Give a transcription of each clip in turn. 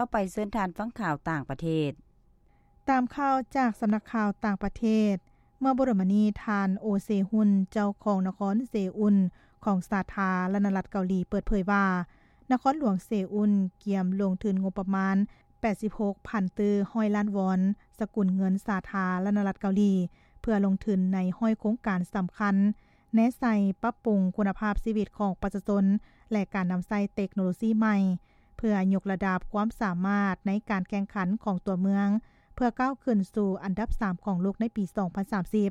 ຕໍ່ໄປເຊີນທ່ານຟັງຂ່າວຕ່າງປະເທດ. ຕາມຂ່າວຈາກສຳນັກຂ່າວຕ່າງປະເທດ, ເມື່ອບໍ່ດົນມານີ້ ທ່ານ ໂອ ເຊຮຸນ ເຈົ້າຂອງນະຄອນເຊອຸນຂອງສາທາລະນະລັດເກົາຫຼີ ເປີດເຜີຍວ່າ ນະຄອນຫຼວງເຊອຸນກຽມລົງທຶນງົບປະມານ ແປດສິບຫົກພັນຕື້ຮ້ອຍລ້ານວອນ ສະກຸນເງິນສາທາລະນະລັດເກົາຫຼີ ເພື່ອລົງທຶນໃນຮ້ອຍໂຄງການສຳຄັນ ແນໃສ່ປັບປຸງຄຸນນະພາບຊີວິດຂອງປະຊາຊົນ ແລະ ການນຳໃຊ້ເຕັກໂນໂລຊີໃໝ່ ເພື່ອຍົກລະດັບຄວາມສາມາດໃນການແຂ່ງຂັນຂອງຕົວເມືອງ ເພື່ອກ້າວຂຶ້ນສູ່ອັນດັບສາມຂອງໂລກໃນປີສອງພັນສາມສິບ.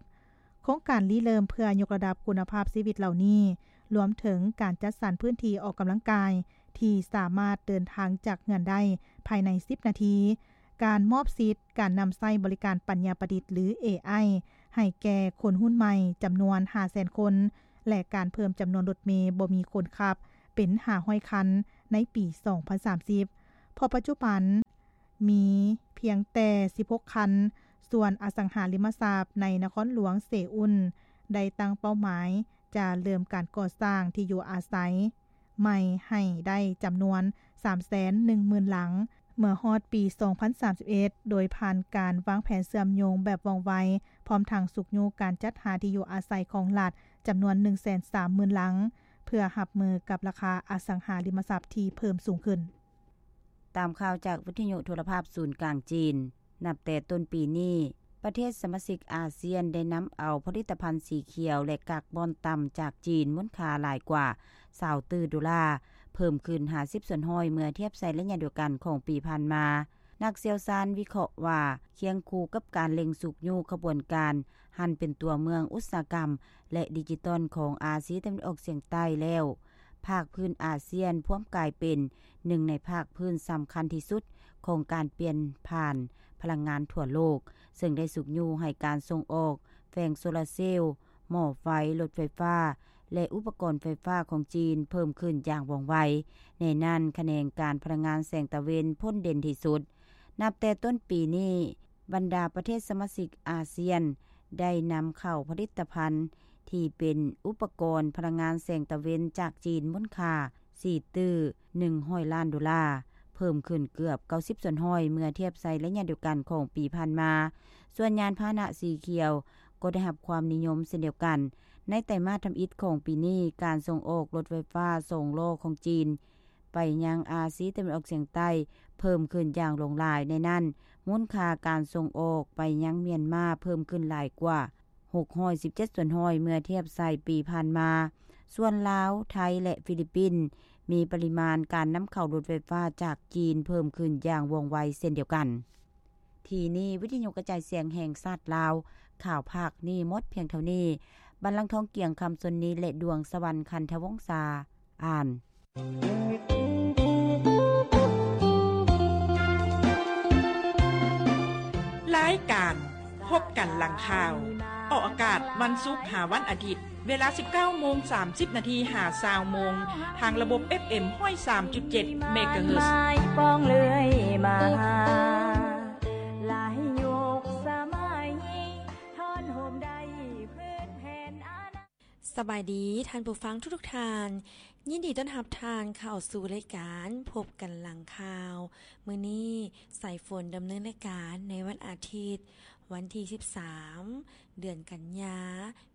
ໂຄງການລິເລີ່ມເພື່ອຍົກລະດັບຄຸນນະພາບຊີວິດເຫຼົ່ານີ້ ລວມເຖິງການຈັດສັນພື້ນທີ່ອອກກຳລັງກາຍ ທີ່ສາມາດເດີນທາງຈາກເຮືອນໄດ້ພາຍໃນສິບນາທີ, ການມອບສິດການນຳໃຊ້ບໍລິການປັນຍາປະດິດ ຫຼື ເອໄອ ໃຫ້ແກ່ຄົນຮຸ່ນໃໝ່ຈຳນວນຫ້າແສນຄົນ ແລະ ການເພີ່ມຈຳນວນລົດເມບໍ່ມີຄົນຂັບເປັນຫ້າຮ້ອຍຄັນໃນປີສອງພັນສາມສິບ ເພາະປັດຈຸບັນມີພຽງແຕ່ສິບຫົກຄັນ. ສ່ວນອະສັງຫາລິມະຊັບໃນນະຄອນຫຼວງເຊອຸນ ໄດ້ຕັ້ງເປົ້າໝາຍຈະເລີ່ມການກໍ່ສ້າງທີ່ຢູ່ອາໄສ ໃໝ່ໃຫ້ໄດ້ຈຳນວນສາມແສນໜຶ່ງໝື່ນຫຼັງ ເມື່ອຮອດປີສອງພັນສາມສິບເອັດ ໂດຍຜ່ານການວາງແຜນເຊື່ອມໂຍງແບບວ່ອງໄວ ພ້ອມທັງຊຸກຍູ້ການຈັດຫາທີ່ຢູ່ອາໄສຂອງລັດຈຳນວນໜຶ່ງແສນສາມໝື່ນຫຼັງ ເພື່ອຮັບມືກັບລາຄາອະສັງຫາລິມະຊັບທີ່ເພີ່ມສູງຂຶ້ນ. ຕາມຂ່າວຈາກວິທະຍຸໂທລະພາບສູນກາງຈີນ, ນັບແຕ່ຕົ້ນປີນີ້, ປະເທດສະມາຊິກອາຊຽນໄດ້ນຳເອົາຜະລິດຕະພັນສີຂຽວ ແລະ ກາກບອນຕ່ຳຈາກຈີນ ມູນຄ່າຫຼາຍກວ່າຊາວຕື້ໂດລາ, ເພີ່ມຂຶ້ນຫ້າສິບສ່ວນຮ້ອຍເມື່ອທຽບໃສ່ໄລຍະດຽວກັນຂອງປີຜ່ານມາ. ນັກຊ່ຽວຊານວິເຄາະວ່າ, ຄຽງຄູ່ກັບການເລັ່ງຊຸກຍູ້ຂະບວນການຫັນເປັນຕົວເມືອງອຸດສາຫະກຳ ແລະ ດິຈິຕອນຂອງອາຊີຕາເວັນອອກສຽງໃຕ້ແລ້ວ, ພາກພື້ນອາຊຽນພວມກາຍເປັນໜຶ່ງໃນພາກພື້ນສຳຄັນທີ່ສຸດຂອງການປ່ຽນຜ່ານພະລັງງານທົ່ວໂລກ, ເຊິ່ງໄດ້ຊຸກຍູ້ໃຫ້ການສົ່ງອອກແຜງໂຊລາເຊວ, ໝໍ້ໄຟ, ລົດໄຟຟ້າ ແລະ ອຸປະກອນໄຟຟ້າຂອງຈີນເພີ່ມຂຶ້ນຢ່າງວ່ອງໄວ. ໃນນັ້ນ, ຂະແໜງການພະລັງງານແສງຕາເວັນພົ້ນເດັ່ນທີ່ສຸດ. ນັບແຕ່ຕົ້ນປີນີ້, ບັນດາປະເທດສະມາຊິກອາຊຽນໄດ້ນຳເຂົ້າຜະລິດຕະພັນທີ່ເປັນອຸປະກອນພະລັງງານແສງຕາເວັນຈາກຈີນ ມູນຄ່າສີ່ຕື້ໜຶ່ງຮ້ອຍລ້ານໂດລາ, ເພີ່ມຂຶ້ນເກືອບເກົ້າສິບສ່ວນຮ້ອຍເມື່ອທຽບໃສ່ໄລຍະດຽວກັນຂອງປີຜ່ານມາ. ສ່ວນຍານພາຫະນະສີຂຽວກໍໄດ້ຮັບຄວາມນິຍົມເຊັ່ນດຽວກັນ. ໃນໄຕມາດທຳອິດຂອງປີນີ້, ການສົ່ງອອກລົດໄຟຟ້າສອງລໍ້ຂອງຈີນ ໄປຍັງອາຊີຕາເວັນອອກສຽງໃຕ້ເພີ່ມຂຶ້ນຢ່າງຫຼວງຫຼາຍ. ໃນນັ້ນ, ມູນຄ່າການສົ່ງອອກໄປຍັງມຽນມາເພີ່ມຂຶ້ນຫຼາຍກວ່າຫົກຮ້ອຍສິບເຈັດສ່ວນຮ້ອຍເມື່ອທຽບໃສ່ປີຜ່ານມາ. ສ່ວນລາວ, ໄທ ແລະ ຟີລິບປິນ ມີປະລິມານການນຳເຂົ້າລົດໄຟຟ້າຈາກຈີນເພີ່ມຂຶ້ນຢ່າງວ່ອງໄວເຊັ່ນດຽວກັນ. ທີ່ນີ້ ວິທະຍຸກະຈາຍສຽງແຫ່ງຊາດລາວ, ຂ່າວພາກນີ້ໝົດພຽງເທົ່ານີ້. ບັນລັງທອງ ກຽງຄຳຊົນນີ ແລະ ດວງສະຫວັນ ຄັນທະວົງສາ ອ່ານ. ລາຍການພົບກັນຫຼັງຂ່າວ ອອກອາກາດວັນສຸກຫາວັນອາທິດ ເວລາສິບເກົ້າໂມງສາມສິບນາທີຫາຊາວໂມງ ທາງລະບົບເອັຟເອັມຮ້ອຍສາມຈຸດເຈັດເມກາເຮີດ. ສະບາຍດີທ່ານຜູ້ຟັງທຸກໆທ່ານ, ຍິນດີຕ້ອນຮັບທ່ານເຂົ້າສູ່ລາຍການພົບກັນຫຼັງຂ່າວ. ມື້ນີ້ ສາຍຝົນດຳເນີນລາຍການໃນວັນອາທິດ ວັນທີສິບສາມ ເດືອນກັນຍາ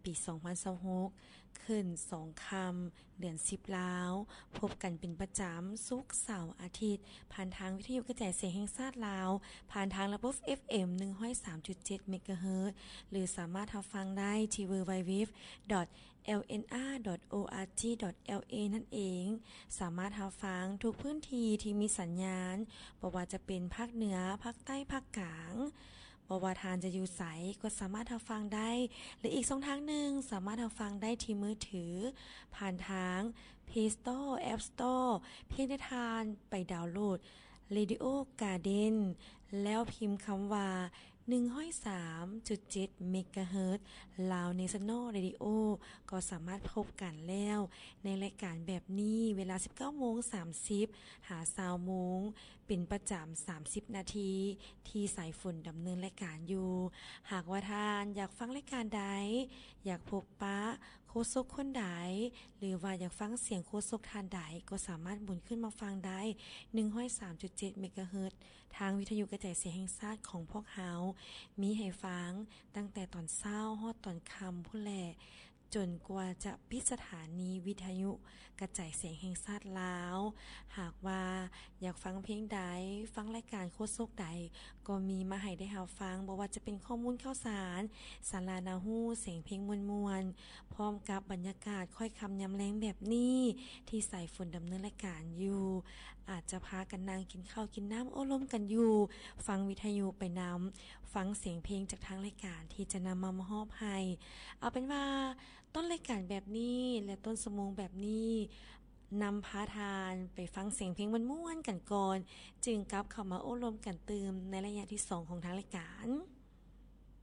ປີສອງພັນຊາວຫົກ ຂຶ້ນສອງຄ່ຳ ເດືອນສິບລາວ, ພົບກັນເປັນປະຈຳ ສຸກ, ເສົາ, ອາທິດ ຜ່ານທາງວິທະຍຸກະຈາຍສຽງແຫ່ງຊາດລາວ ຜ່ານທາງລະບົບເອັຟເອັມໜຶ່ງຮ້ອຍສາມຈຸດເຈັດເມກາເຮີດ ຫຼື ສາມາດຮັບຟັງໄດ້ທີ່ ดับเบิลยู ดับเบิลยู ดับเบิลยู ດອດ แอล เอ็น อาร์ ดอท โอ อาร์ จี ดอท แอล เอ ນັ້ນເອງ. ສາມາດຮັບຟັງທຸກພື້ນທີ່ທີ່ມີສັນຍານ, ບໍ່ວ່າຈະເປັນພາກເໜືອ, ພາກໃຕ້, ພາກກາງ. ບໍ່ວ່າທ່ານຈະຢູ່ໃສກໍສາມາດຮັບຟັງໄດ້ ຫຼື ອີກຊ່ອງທາງໜຶ່ງ ສາມາດຮັບຟັງໄດ້ທີ່ມືຖື ຜ່ານທາງ Play Store, App Store ພຽງແຕ່ທ່ານໄປດາວໂຫຼດ Radio Garden ແລ້ວພິມຄຳວ່າ ໜຶ່ງຮ້ອຍສາມຈຸດເຈັດເມກາເຮີດ Lao National Radio ກໍສາມາດພົບກັນແລ້ວ ໃນລາຍການແບບນີ້ ເວລາສິບເກົ້າໂມງສາມສິບຫາຊາວໂມງ ເປັນປະຈຳສາມສິບນາທີ ທີ່ສາຍຝົນດຳເນີນລາຍການຢູ່. ຫາກວ່າທ່ານຢາກຟັງລາຍການໃດ, ຢາກພົບປະ ໂຄສົກຄົນໃດ ຫຼືວ່າຢາກຟັງສຽງໂຄສົກທ່ານໃດ ກໍສາມາດໝູນຂຶ້ນມາຟັງໄດ້ ໜຶ່ງຮ້ອຍສາມຈຸດເຈັດ ເມກາເຮີດ ທາງວິທະຍຸກະຈາຍສຽງແຫ່ງຊາດຂອງພວກເຮົາ ມີໃຫ້ຟັງຕັ້ງແຕ່ຕອນເຊົ້າຮອດຕອນຄ່ຳພຸ້ນແຫຼະ ຈົນກວ່າຈະປິດສະຖານີວິທະຍຸກະຈາຍສຽງແຫ່ງຊາດລາວ. ຫາກວ່າຢາກຟັງເພງໃດ, ຟັງລາຍການໂຄສົກໃດ ກໍມີມາໃຫ້ໄດ້ຮັບຟັງ, ບໍ່ວ່າຈະເປັນຂໍ້ມູນຂ່າວສານ, ສາລະໜ້າຮູ້, ສຽງເພງມ່ວນໆ ພ້ອມກັບບັນຍາກາດຄ້ອຍຄ່ຳຍາມແລງແບບນີ້ ທີ່ສາຍຝົນດຳເນີນລາຍການຢູ່ ອາດຈະພາກັນນັ່ງກິນເຂົ້າກິນນ້ຳໂອ້ລົມກັນຢູ່ ຟັງວິທະຍຸໄປນຳ ຟັງສຽງເພງຈາກທາງລາຍການທີ່ຈະນຳມາມອບໃຫ້. ເອົາເປັນວ່າ ຕົ້ນລາຍການແບບນີ້ ແລະ ຕົ້ນຊົ່ວໂມງແບບນີ້ ນຳພາທ່ານໄປຟັງສຽງເພງມ່ວນໆກັນກ່ອນ ຈຶ່ງກັບເຂົ້າມາໂອ້ລົມກັນຕື່ມໃນໄລຍະທີສອງຂອງທາງລາຍການ.